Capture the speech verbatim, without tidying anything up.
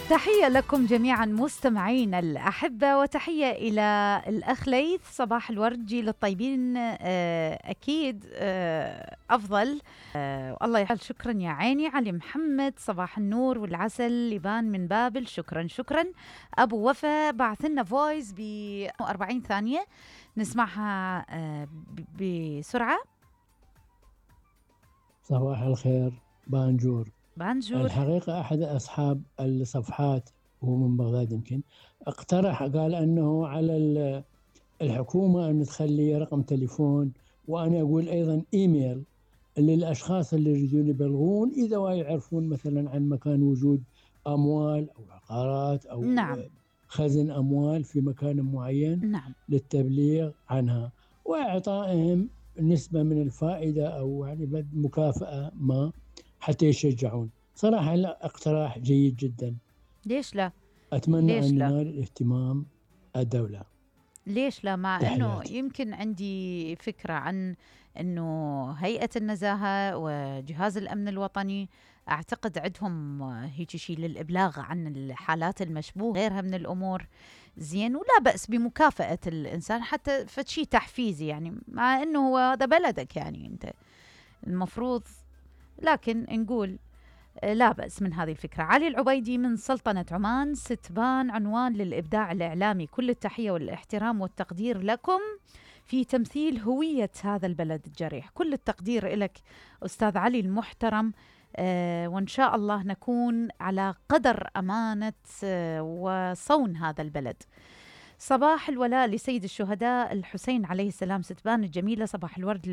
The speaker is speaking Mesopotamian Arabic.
تحية لكم جميعا مستمعينا الأحبة، وتحية إلى الأخ ليث. صباح الورد، جيل الطيبين أكيد أفضل. الله يحل. شكرا يا عيني. علي محمد، صباح النور والعسل. لبان من بابل، شكرا شكرا. أبو وفا بعث لنا فويس ب أربعين ثانية نسمعها بسرعة. صباح الخير بانجور. بانجور. الحقيقة أحد أصحاب الصفحات هو من بغداد يمكن اقترح، قال أنه على الحكومة أن تخلي رقم تليفون، وأنا أقول أيضا إيميل للأشخاص اللي يريدون يبلغون إذا يعرفون مثلا عن مكان وجود أموال أو عقارات أو نعم. خزن أموال في مكان معين. نعم. للتبليغ عنها وإعطائهم نسبة من الفائدة أو يعني مكافأة ما حتى يشجعون. صراحة لا، اقتراح جيد جدا. ليش لا؟ أتمنى ليش أن لا؟ ينال اهتمام الدولة. ليش لا؟ مع تحياتي. أنه يمكن عندي فكرة عن أنه هيئة النزاهة وجهاز الأمن الوطني أعتقد عندهم هيك شيء للإبلاغ عن الحالات المشبوهة غيرها من الأمور. زين، ولا بأس بمكافأة الإنسان حتى فشي تحفيزي، يعني مع أنه هو هذا بلدك، يعني أنت المفروض. لكن نقول لا بأس من هذه الفكرة. علي العبيدي من سلطنة عمان، ستبان عنوان للإبداع الإعلامي. كل التحية والاحترام والتقدير لكم في تمثيل هوية هذا البلد الجريح. كل التقدير لك أستاذ علي المحترم، آه وإن شاء الله نكون على قدر أمانة آه وصون هذا البلد. صباح الولاء لسيد الشهداء الحسين عليه السلام. ستبان الجميلة، صباح الورد